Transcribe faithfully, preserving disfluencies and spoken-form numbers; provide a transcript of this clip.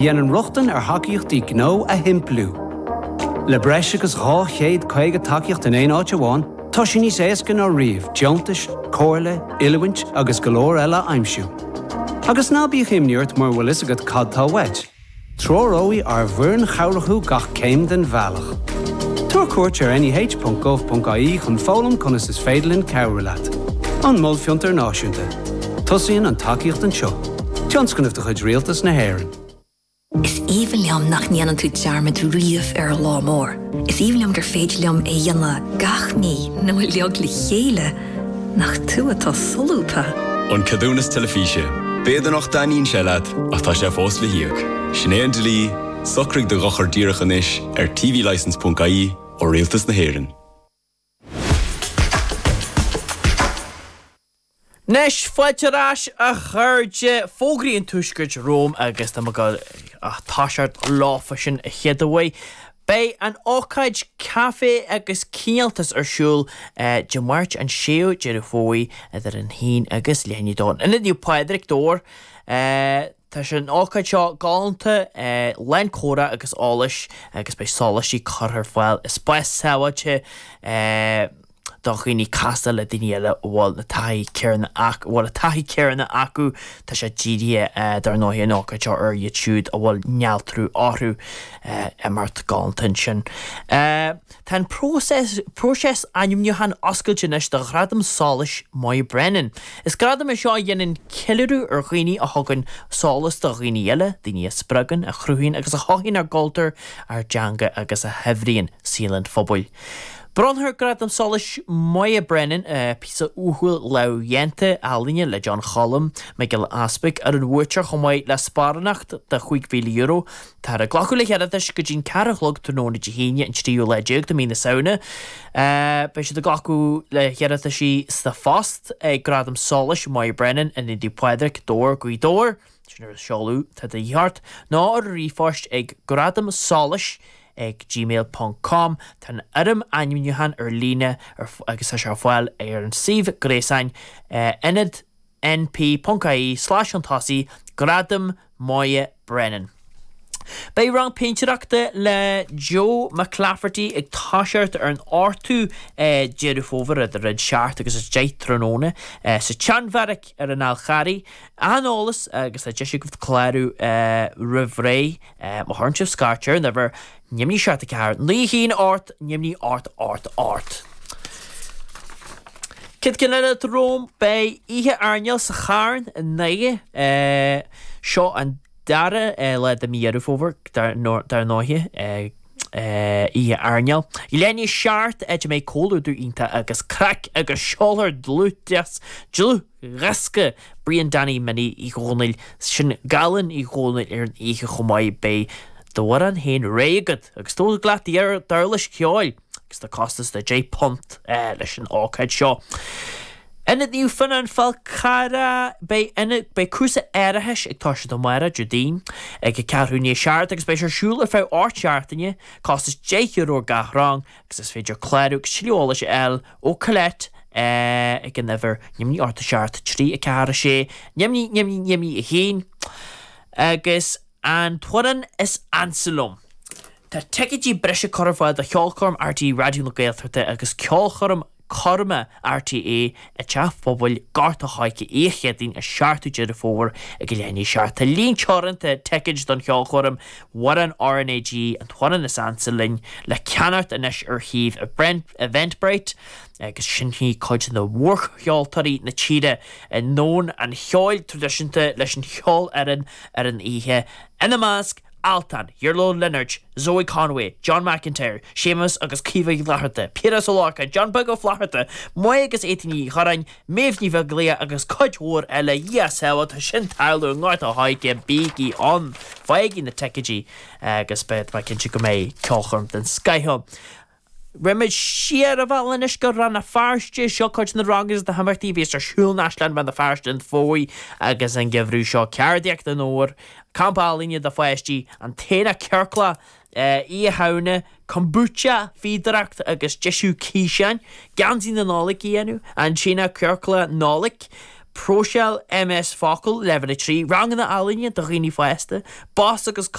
Dhéanann rochtain ar thacaíochtaí gnó a shimpliú. Le breis agus dhá chéad caoga tacaíocht in aon áit amháin, tá sé níos éasca ná riamh deontais, comhairle, oiliúint agus go leor eile a aimsiú. Agus ná bíodh imní ort mura bhfuil fhios agat cad tá uait. Treoróidh ár bhfoireann chabhrach thú gach céim den bhealach. Tabhair cuairt ar N E H ponc gov ponc I E chun foghlaim conas is féidir linn cabhrú leat. An Mol Fiontar Náisiúnta. Tosaíonn an tacaíocht anseo. Tionscnamh de chuid Rialtas na hÉireann. Is aoibhinn liom nach ndéanann tú dearmad riamh ar an lá mór. Is aoibhinn liom gur féidir liom é dhéanamh gach mí nó uilig le chéile nach tú atá solúbtha. An ceadúnas teilifíse. B'fhéidir nach dtaitníonn sé leat ach tá sé fós le híoc. Sin é an dlí, socraigh do dhochar díreach anois ar T V licence ponc I E ó Rialtas na hÉireann. Anois fáilte ar ais, a chairde. Fógraí an Tuaiscirt romham agus tá mé ag toiseacht leofa sin a chéad uair. Beidh an ócáid Caife agus Cineáltas ar siúl Dé Máirt an séú Deireadh Fómhair idir an haon agus leath i ndiaidh a dó. Ionad Naomh Pádraig, Dobhar. Tá sé an ócáid seo galánta, lán comhrá agus eolais agus beidh sóláistí curtha ar fáil i spás sábháilte do dhaoine casadh le daoine eile a bhfuil na taithí céanna acu bhfuil a taithí céanna acu. Tá sé dírithe, dar ndóigh, an ócáid seo ar iad siúd a bhfuil néaltrú orthu. Imeacht galánta ansin. Tá an próiseas próiseas ainmniúcháin oscailte anois do Ghradam Solais Moya Brennan. Is gradam é seo a dhéanann ceiliúradh ar dhaoine a thugann solas do dhaoine eile, daoine a spreagann, a chruthaíonn agus a chothaíonn ár gcultúr, ár dteanga agus a shaibhríonn saol an phobail. Bronnfar Gradam Solais Moya Brennan, píosa uathúil lámhdhéanta ealaíne le John Cholm Mac Giolla Easpaig, ar an bhuaiteoir chomh maith le sparánacht de chúig mhíle euro. Táthar ag glacadh le hiarratais go dtí'n ceathrú a chlog tráthnóna Dé hAoine an tríú lá déag de mhí na Samhna. Beidh siad ag glacadh le hiarrataisí sa phost ag Gradam Solais Moya Brennan in Naomh Pádraig, Dobhar, Gaoth Dobhair, sin ar an seoladh atá de dhíth ort, nó ar ríomhphost ag gradam solais ag gmail ponc com. Tá an fhoirm ainmniúcháin ar líne agus tá sé ar fáil ar an suíomh gréasáin ionad N P ponc I E slash an tosaí Gradam Moya Brennan. Beidh rang péintéireachta le Joe McClafferty ag toiseacht ar an ochtú Deireadh Fómhair idir a seacht agus a deich tráthnóna sa tSeanbheairic ar an Fhál Carraigh. An eolas agus tá deis agaibh clárú roimh ré má chuireann sibh scairt ar an uimhir neamhní seacht a ceathair naoi haon ocht neamhní ocht ocht ocht. Céad ceann eile romham, beidh oíche airneáil sa Charn i nDoire. Seo an dara lá de mí Dheireadh Fómhair, dar ndóighe, oíche airneáil. Leath i ndiaidh a seacht, áit a mbeidh comhluadar iontach agus craic agus seolfar dlúthdhiosca dlúthdhiosca Brian Danny Minnie Uí Dhónaill, sin Galán Uí Dhónaill, ar an oíche chomh maith. Beidh d'amhrán féin réidh agat agus tóg leat d'uirlis cheoil agus tá costas de deich punt leis an ócáid seo. Ionad Naomh Fionnán, Fál Carrach, beidh ionad beidh cúrsa árachais ag toiseacht amárach, Déardaoin, ag a ceathrú i ndiaidh a seacht agus beidh sé ar siúl ar feadh ocht seachtaine, costas deich euro ar gach rang agus is féidir clárú agus tuilleadh eolais a fháil ó Colette ag an uimhir neamhní ocht a seacht trí a ceathair a sé neamhní neamhní neamhní a haon. Agus an t-amhrán is ansa liom. Tá ticéidí breise curtha ar fáil do cheolchoirm R T É Raidió na Gaeltachta agus ceolchoirm coirme R T É i dTeach Phobail Gort a' Choirce oíche Chéadaoin an seachtú Deireadh Fómhair ag a leath i ndiaidh a seacht. Tá líon teoranta ticéid don cheolchoirm Amhrán R N A G, an t-amhrán is ansa linn, le ceannacht anois ar shuíomh Eventbrite agus seinnfidh cuid de mhórcheoltóirí na tíre i ndomhan an cheoil traidisiúnta leis an cheolfhoireann ar an oíche, ina measc Altan, Iarla Ó Lionáird, Zoe Conway, John McIntyre, Séamus agus Caoimhe Uí Fhlatharta, Piaras Ó Lorcáin, John Beag Ó Flatharta, Moya agus Étaín Uí Churráin, Méabh Ní Bheaglaoich agus cuid mhór eile. Dhia sábháil, tá sin tarlú i nGort a' Choirce, bígí ann, faighigí na ticéidí agus beidh mé cinnte go mbeidh ceolchoirm den scoth ann. Raghaimid siar an bealach anois go Rann na Feirste. Seo cuid de na ranganna is na himeachtaí a bhíos ar siúl in Áislann Rann na Feirste an fómhar agus an geimhreadh seo. Ceardaíocht an Fhómhair, Campa Ealaíne do pháistí, an tAonach Ciorclach, Oíche Shamhna, Kombucha, fíodóireacht agus deisiú ciseáin, Geansaí na Nollag a dhéanamh, an tAonach Ciorclach Nollag, Próiseáil MS Focal leibhéal a trí, ranganna ealaíne do dhaoine fásta, bos agus